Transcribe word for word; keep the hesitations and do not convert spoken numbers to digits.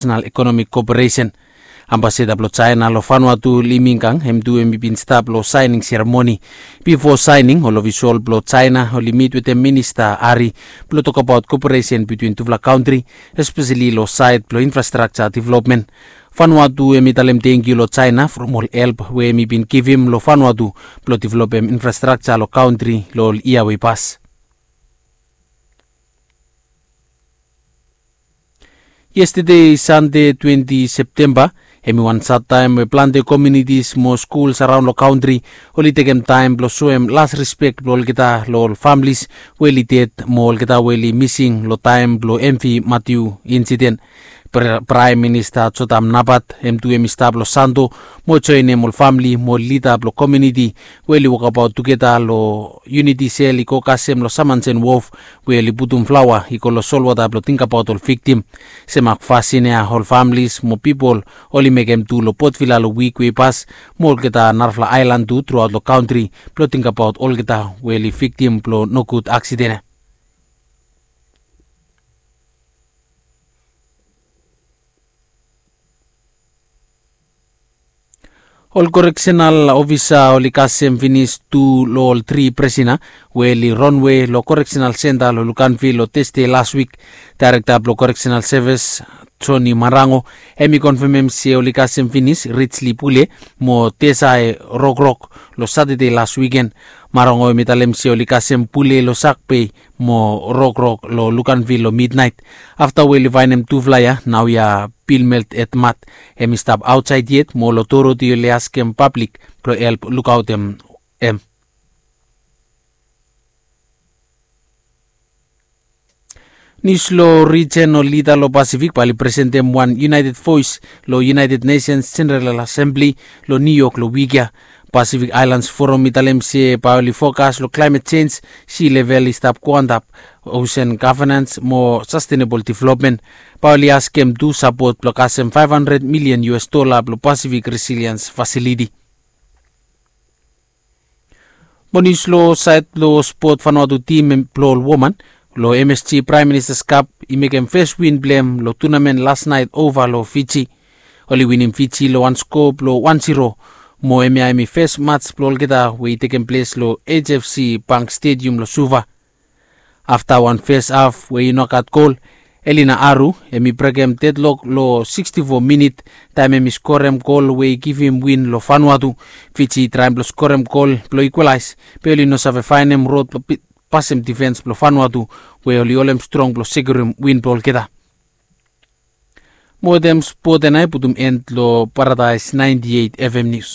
National Economic Cooperation. Ambasada blong Jaena long Vanuatu, Li Mingang, hem tu hem i bin stap long saening seremoni. Bifo saening, ol ofisol blong Jaena oli mit wetem Minista Ari blong tokbaot koperesen bitwin tufala kantri, espeseli long saed blong infrastrakja developmen. Vanuatu hem i talem tangkiu long Jaena from ol help we hem i bin givim long Vanuatu blong developem infrastrakja long kantri long ol yia we i pas. Yestede Sande twenti Septemba, hem i wan sad taem we plante komiunitis mo skuls araon long kantri oli tekem taem blong soem las rispek blong olgeta long ol familis we oli ded mo olgeta we oli mising long taem blong M V Matthew insiden. Praem Minista Jotam Napat hem tu hem i stap long Santo mo joenem ol famili mo lida blong komiuniti we oli wokabaot tugeta long Unity Sel i go kasem long Samansen Wof we oli putum flaoa i go long solwota blong tingbaot ol viktim. Sem akfasin ya ol familis mo pipol oli mekem tu long Potvila long wik we i pas mo olgeta narafala aelan tu truaot long kantri blong tingbaot olgeta we oli viktim blong nogud aksiden ya. Ol koreksenal ofisa oli kasem finis tu long ol tri prisina we oli ronwe long koreksenal senta long Luganville long Tasde las wik. Daerekta blong koreksenal sevis Joni Marango hem i konfemem se oli kasem finis Rijli Pule mo Tesae Rokrok long Satade las wiken. Marango hem i talem se oli kasem Pule long Sakbei mo Rokrok long Luganville long midnaet. Afta we oli faenem tufala ya, naoia Bilmelt Etmat hem i stap aotsaed yet mo long Doroti oli askem pablik blong help lukaotem hem. Nius long rijen, ol lida long Pasifik bae oli presentem wan united voes long United Nations General Assembly long New York long wik ya. Pasifik Aelans Forum i talem se bae oli fokas long klaemet jenj, si level i stap goantap, osen gavenans mo sastenebol developmen. Bae oli askem tu sapot blong kasem faef handred milian U S dola blong Pasifik Resiliens Fasiliti. Mo nius long saed blong spot, Vanuatu tim blong ol woman long M S G Praem Ministas Kap i mekem fes win blong hem long tunamen las naet ova long Fiji. Oli winim Fiji long wan sko blong wan ziro. Mo hemia hem i fes mats blong olgeta we i tekem ples long H F C Bank Stadium long Suva. Afta wan fes haf we i no gat gol, Elina Aru hem i brekem dedlok long siksti fo minit taem hem i skorem gol we i givim win long Vanuatu. Fiji i traem blong skorem gol blong ikwalaes, be oli no save faenem rod blong pasem difens blong Vanuatu we oli holem strong blong sekiurim win blong olgeta. Mo wetem spot ya nao i putum en long Paradaes naenti eit F M Nius.